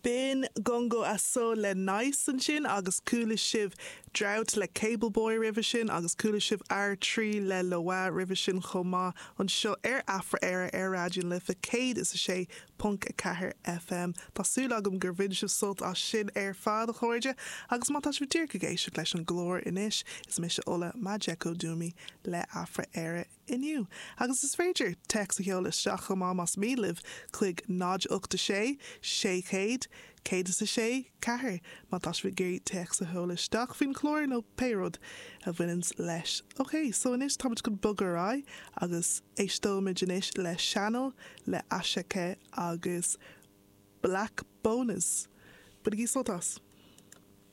B'in Gongo Aso le Nice ansin agus chuala sibh Drought le Cable Boy roimhe sin agus chuala sibh R3 le Loa roimhe sin chomh maith anseo ar Afra-Éire ar Raidió na Life 106.4 FM. Tá súil agam gur bhain sibh sult as sin ar fad, a chairde, agus má tá sibh díreach ag éisteacht leis an gclár anois, is mise Ola Majekodunmi le Afra-Éire. inniu. Agus is féidir téacs a sheoladh isteach chomh maith más mian libh chuig 0 8 6 600 106 4 má tá sibh ag iarraidh téacs a sheoladh isteach faoin chlár nó pé rud a bhaineanns leis. Ok, so anois táimid chun bogadh ar aghaidh agus éisteoimid anois le Channel le Asake agus Blaqbonez. Bainigí sult as!